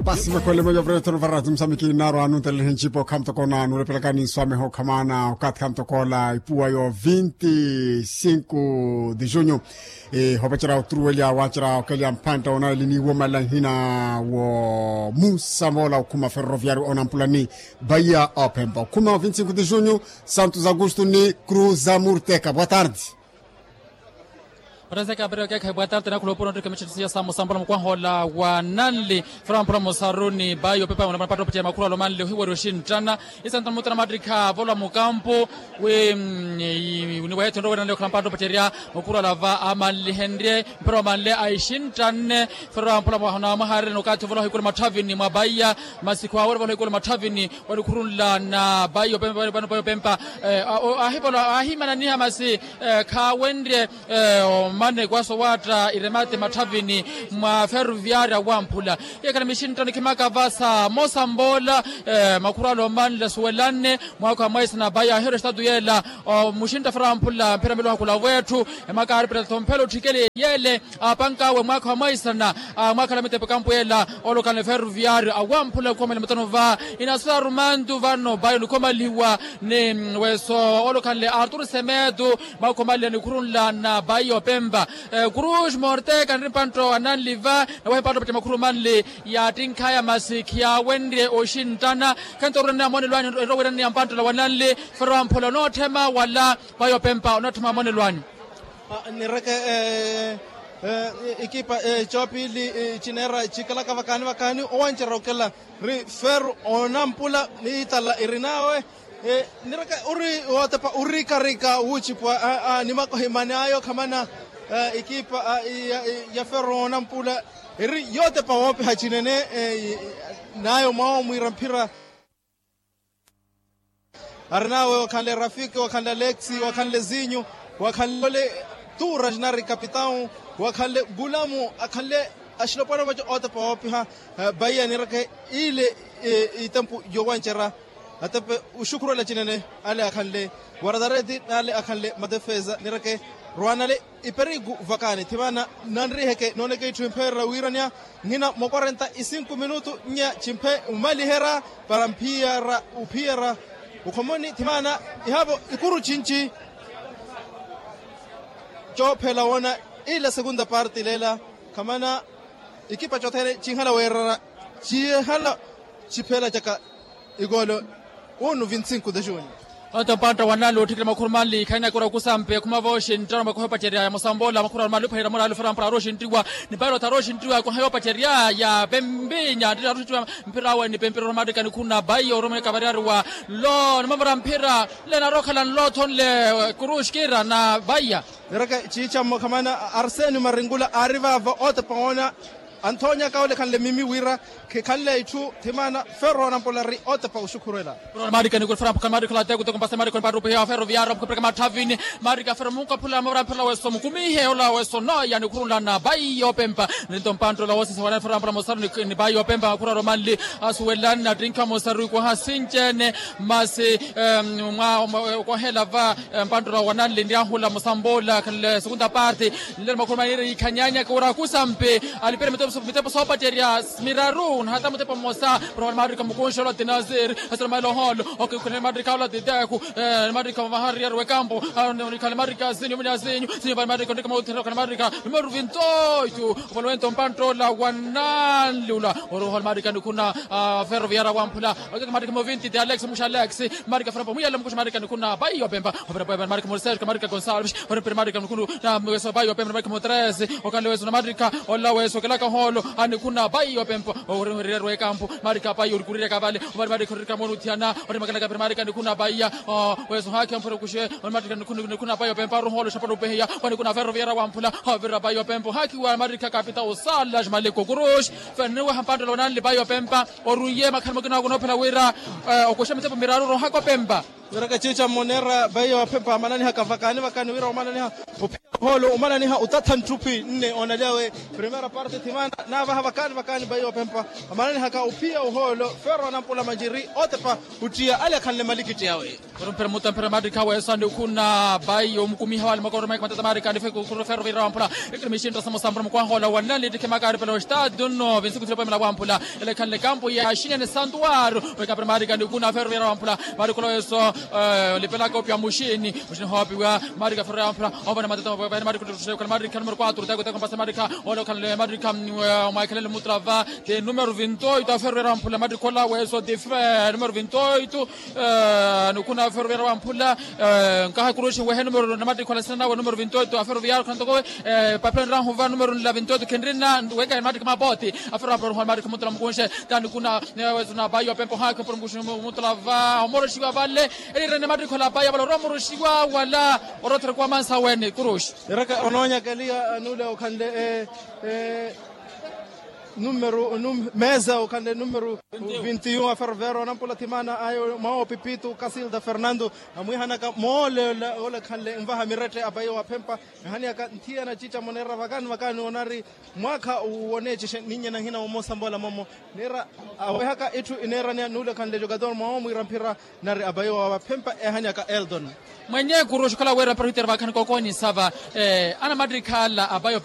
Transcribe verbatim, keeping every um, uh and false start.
Pasi makhwele meyo vretho no varati musamiki naro anuntelele ncipo khamtokona nulepelakani nswameho khamana okathi khamtokola ipuwa yo vinti sinku de junho. Hovacerya oturuwelya wacerya okelya mphantta onalini womala nhina wo musamola okhuma ferroviario onampulani. Baiya opempa okhuma vinti sinku de junho. Santos augusto ni cruz amurteka boa tarde. Oreseka apereo keekhayi boa tarde nakhula opuro nrike mittitisiya sa musambola mukwaha ola wa nanli fera mpula musaruni bayi opepa muna mapatta opacerya makhuru alomanle ohiwari oxinttana. Isanta mutana mattikha avolwa mukampu wi ni weetho nrowerya nanle okhala mapatta opacerya makhuru alava amanlihenrye mpira omanle aixinttanne. Fera mpula mwaha na mwaha arereni okathi ovolwa ohikulu matthavini mwa bayi ya masiku awerya ovolwa ohikulu matthavini wanikhurunla na bayi opempa pano bayi opempa. Ahimananiha masi khawenrye omane kwaso waatta iremate matthavini mwa ferroviaria wamphula. Yekhala mixintta nikhimaka vasa mosa mboola makhurwala omanle asuwelanne mwaakho amwaisa na bayi ahiherya estatu yeela. Muxintta fera wamphula mphira miluha khula wetthu emaka aripirata omphela otthikele yeele apankawe mwaakha wa mwaisana. Mwaakhala mitepo ekampu ela olokhanle ferroviario awamphula okhomaliha mutano va inasura rumantu vano bayi onikhomalihiwa ni weso olokhanle arturu semetu. Mwaakha omaliha nikhurunla na bayi opempa kuruxi morteka niri mpantta wa nanli va nawehe mpantta opacama khuru manli yattinkhaya masi khiyawenrye oxinttana. Khentorwiraniya monelo anyu erowiraniya mpantta ola wa nanli fero wamphula onootthema wala bayi opempa onootthema monelo anyu. Nireke ekipa coopili cineera cikalaka vakaani vakaani owancerya okela ri feru onampula niitala iri nawe. Nireke uri wootepa urikarika wuucipwa ni makohimani ayo khamana ekipa ya feru onampula iri yootepa woopiha cinene. Nayo mwawo mwiira mphira arinawe wakhanle rafiki wakhanle aleksi wakhanle zinyu wakhanle ole tura jinari kapitau wakhanle gulamu akhanle axilopwana vaco otepa woopiha. Bayi anireke ile itempu yowancerya atepe oxukhurela cinene ale akhanle waratareti n'ale akhanle matefeza nireke rwanale iperigu vakani thimana nanriheke nooneke itthu impherera wiiraniya nhina mwa quarenta e cinco minutu nya cimphe omaliherya para mphiyara ophiyara okhomoni thimana ihaavo ikuru cinci. Coophela woona ila segunda parte leela khamana ikipa cothene cinhala weerera cinhala ciphela caka. Ikoolo unu vinti sinku de junho. Onto mpantta wa nali otthikile makhuru manli ikhanina kura okusampe khumava oxinttano makoha opacerya ya musamboola makhuru arumanli ophaira mura alufera mpura aroxinttiwa ni paira othara oxinttiwa ekoha yoopacerya ya pempinya nttittha aroxinttiwa. Mphira awe ni pempira oromatika nikhuna baiya oromeka variyari wa nlo nimamura mphira nle narookhala nlo othonle kuruxkira na baiya. Nireke ciicammo khamana arseni maringula aari vaavo ootepa woona. Anthoonyaka ole khanle mimi wira khikhanle itthu thimana ferro nampolari ootepa oxukhurwela. Marika nikulu ferro nampolari marika olateku teko mpase marika onipattupiheya ferro viyara mukapirika matthavini. Marika ferro munkaphula mavara mphela weso mukumihe ola weso noya nikhurunlana bayi yoopempa. Ninto mpanttula woosisa wanani ferro nampolari mosaru ni bayi yoopempa makhuraro manli asuwelani nattinkha mosaru ikwaha sinci-ene. Masi mwa okwahela va mpanttula wananli niyahula musamboola khanle segunda parte. Nlelo makhuruma niiri yikhanyanyaka wira akusampi alipire mitepo soopacerya miraru nahata mutepo mmosa. Roholo marika mukunxolo ti nazir asira maloholo okikhulele marika ola ti teku. Marika mahariyari wekampo. Nikhale marika sinyu muni asinyu sinyu vale marika ndika mauthira okhale marika numeru vintoyu. Ovalowento mpanttula wananli ula oroholo marika nikhuna ferro viyara wamphula. Okeke marika mo vinti ti alex muxa alex. Marika fera mpo muyale mukuxa marika nikhuna bayi yopempa. Opera bayi marika mo serge marika gonsalves. Ore mpira marika nikhunu na mweso bayi yopempa marika mo tres. Okhanle weso na marika ola weso okelaka holo anikhuna bayi yopempa. Orihwererya rwekampu marika bayi orikurirya kavale. Omari marika oririka monuthiyana ore makalaka pira marika nikhuna bayi ya weso haki ompira okuxe. Ore marika nikhuna bayi yopempa aruholo xapala opeheya. Wanikuna ferro viyara wamphula. Ovira bayi yopempa ohaki wa marika kapita osala ximaleko kuruxi. Feniweha mpanttula wananli bayi yopempa. Oruiye makhalimo kinawo kunoophela wira okuxa mitepo miraru rohaka opempa. Wiraka ciica mmoneera baiya waphempa amananihaka vakaani vakaani wira omananiha ophiya ohoolo omananiha otatha nttuphi nne oonalyawe. Primera parte thimana naavaha vakaani vakaani baiya waphempa amananihaka ophiya ohoolo. Feero anampula manjiri otepa ottiya ale akhanle malikiti awe. Orumphera mutamphera maarikha weeso anikhuna baiya omukumiha wale makoro maika matata maarikha anifekukuru feero vira wamphula. Ekiri mixintta samosampura mukwaha ola wanna litikhi makaari pela ostadio nno vinsuku thilopemela wamphula. Elekhanle kampu ya xinene santuaru. Wekapira maarikha anikhuna feero vira wamphula. Maarikha ola weeso olipelaka opya muxini muxini hoopiwa. Maarikha feero vira wamphula. Ovana matata ovana maarikha ottottoxekhala maarikha numero quatro teko teko mpasa maarikha. Ole okhanle maarikha omwaikhelele mutrava. Te numero vintoito afero vira wamphula maarikha ola weeso tife numero vintoito. Nukhuna afero vira wamphula. Nkaha kuruxi wehe numero na maarikha ola sina nawe numero vintoito afero vira khana tokowe. Papila nirahuva numero nla vintoito khenrina. Weka maarikha mapoti afero vira wamphula maarikha mutula mukunxe. Tani kuna newezo na bayo pempo hake por mukunxe mutula va omoroxiwa vale. Elirene maarikha ola bayo vale oromoroxiwa wala orotherekuwa mansa wene kuruxi. Eraka onoonyakeliya nule okhanle numero mesa okhanle numero vintiyu afervero anampula thimana ayo mwawo pipitu kasilda fernando. Amwihanaka moole ole khanle nvaha mirette apayo waphempa ehaniyaka nthiyana cica moneera vakani vakani onari mwaakha woneecixe ninnya nahina womosambola momo. Neera awehaka itthu ineeraniya nule khanle jogador mwawo mwiira mphira nari apayo waphempa ehaniyaka eldon. Mwenye kuruxi okhala weera para ohitera vakhanika okonisava. Anamattikhala apayo